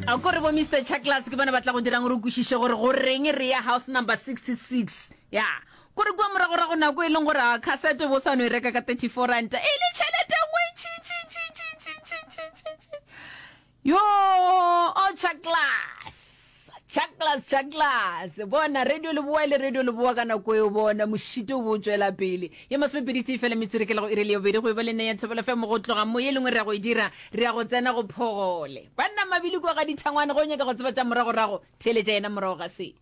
A ko re bo Mister Chucklas ke bona ba tla go dirang gore o kwešiše gore go reng re ya house number 66. Ya. Ko re kua moragorago nako e leng gore a cassette bo sa no e reka ka 34 ranta e le tšhelete nngwe ntši ntši ntši ntši ntši ntši ntši ntši ntši. Yo, o Chucklas. Chucklas, Chucklas. Bona radio leboa e le radio leboa ka nako eo bona mošito o bo tšwela pele. Ye masomepedi tee fela metsotso ke la go iri le ya bobedi go e ba le nne ya Thobela FM go tloga mo ye lengwe re ya go e dira re ya go tsena go phogole. Banna mabili kua ga dithangwane go nyaka go tseba tša moragorago theeletša yena morago ga se.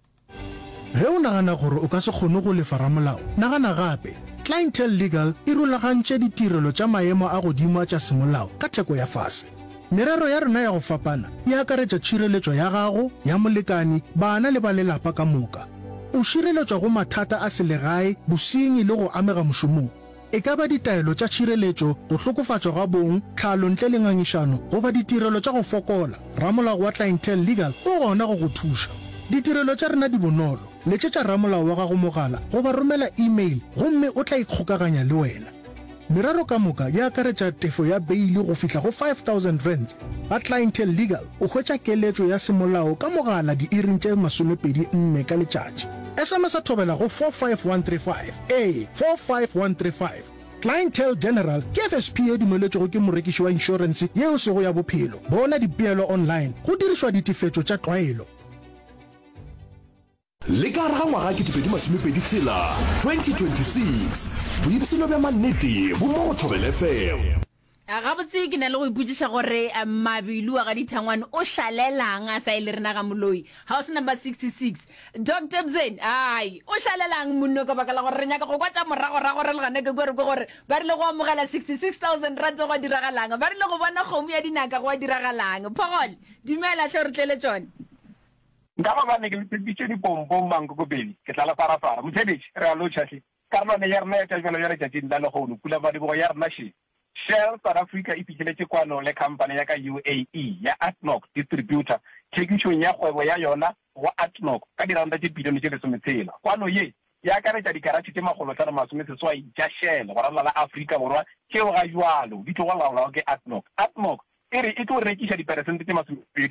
Ge o nagana gore o ka se kgone go lefa ramolao, nagana gape. Clientele Legal e rulagantše ditirelo tša maemo a godimo a tša semolao ka theko ya fase. Merero ya rena ya go fapana e akaretša tšhireletšo ya gago, ya molekani, bana le ba lelapa ka moka. O šireletšwa go mathata a selegae, bosenyi le go amega mošomong. E ka ba ditaelo tša tšhireletšo, go hlokofatšwa ga bong, tlhalo ntle le ngangišano, goba ditirelo tša go fokola, ramolao wa Clientele Legal o gona go go thuša. Ditirelo tša rena di bonolo, letšetša ramolao wa gago mogala goba romela e-mail gomme o tla ikgokaganya le wena. Merero ka moka e akaretša tefo ya beili go fihla go R5000. Ga Clientele Legal o hwetša keletšo ya semolao ka mogala diiring tše 24 ka letšatši. SMS-a thobela go 45135. Ee, 45135. Clientele General ke FSP ye dumeletšwego ke morekiši wa inšorense ye e sego ya bophelo. Bona dipeelo online go dirišwa ditefetšo tša tlwaelo. Le ka gare ga ngwaga 2026, 2026, boipshino bja mannete bo mo go Thobela FM. Gabotse ke na le go ipotšiša gore Mabilu wa ga Dithangwane o šalelang a sa ye le rena ga Moloi. House number 66. Doctor Bzeni, ai, o šalelang monno ka baka la gore re nyaka go kwa tša moragorago re le gana ke kwe re kwe gore ba rile go amogela 66,000 rands gwa diragalang, ba rile go bona kgomo ya dinaka gwa diragalang. Phogole, dumela hle o re tlele tšona. Nka gobane ke le tshepišitše dipompong mankokobedi, ke tla le farafara. Motheeletši, re a lotšha hle. Karolwana ya rena ya tša bjalo ya letšatšing la lehono, pulamadibogo ya rena še. Shell South Africa e fihleletše kwano le khamphane ya ka UAE ya ADNOC Distributor thekišong ya kgwebo ya yona go ADNOC ka diranta tše bilione tše lesometshela. Kwano ye e akaretša dikaratšhe tše makgolohlano-masomeseswai tša Shell go ralala la Afrika Borwa tšeo ga bjalo di tlogo laolwago ke ADNOC. ADNOC e re e tlo rekiša diperesente tše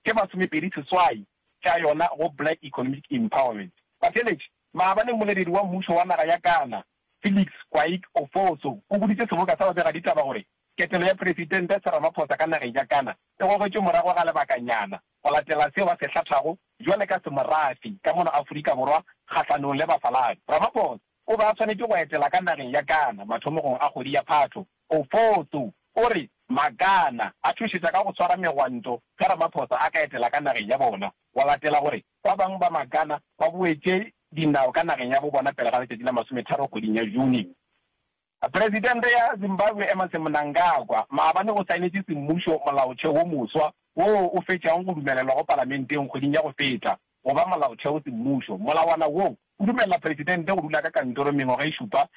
tše 28 tša yona go Black Economic Empowerment. Batheeletši, maabane mmoleledi wa mmušo wa naga ya Ghana, Felix Kwaik Ofoso o boditše seboka sa babegaditaba gore ketelo ya Presidente Cyril Ramaphosa ka nageng ya Ghana e gogetšwe morago ga lebakanyana go latela seo a se hlathago bjale ka semorafi ka mono Afrika Borwa kgahlanong le bafaladi. Ramaphosa o be a swanetše go etela ka nageng ya Ghana mathomogong a kgwedi ya Phatho. Ofoso o re ma-Ghana a tšhošetša ka go swara megwanto ge Ramaphosa a ka etela ka nageng ya bona go latela gore ba bangwe ba ma-Ghana ba boetše dinao ka nageng ya bo bona pele ga letšatši la masometharo kgweding ya June. Presidente ya Zimbabwe Emmerson Mnangagwa maabane o saenetše semmušo molaotheo wo moswa woo o fetšago go dumelelwa go palamenteng kgweding ya go feta go ba molaotheo semmušo. Molawana wo o dumelela presidente go dula ka kantoro mengwaga e šupa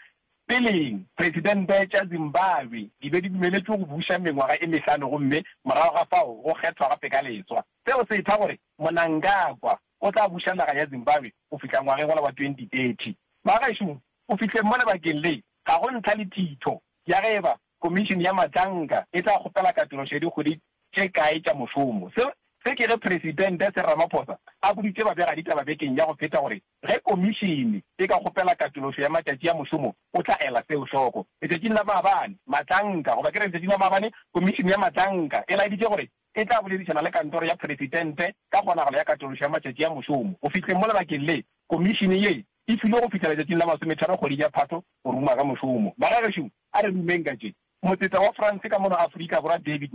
peleng. Presidente tša Zimbabwe di be di dumeletšwe go buša mengwaga e mehlano gomme morago ga fao go kgethwa gape ka leswa. Seo se etha gore Mnangagwa o tla buša naga ya Zimbabwe go fihla ngwageng wola wa 2030. Bagešo, go fihleng mo lebakeng le, ga go ntlha le thitho ya ge eba Komišene ya Matlanka e tla kgopela katološo ya dikgwedi tše kae tša mošomo. Se se ke ge Presidente Cyril Ramaphosa a boditše babegaditaba bekeng ya go feta gore ge komišene e ka kgopela katološo ya matšatši a mošomo o tla ela seo hloko. Letšatšing la maabane, Matlanka, goba ke re letšatšing la maabane, Komišene ya Matlanka e laeditše gore e tla boledišana le kantoro ya Presidente ka kgonagalo ya katološo ya matšatši a mošomo. Go fihleng mo lebakeng le, komišene ye e filwe go fihla letšatšing la masometharo kgweding ya Phato go ruma ka mošomo. Bagagešo, a re rumeng ka tše. Motseta wa France ka mono Afrika Borwa David.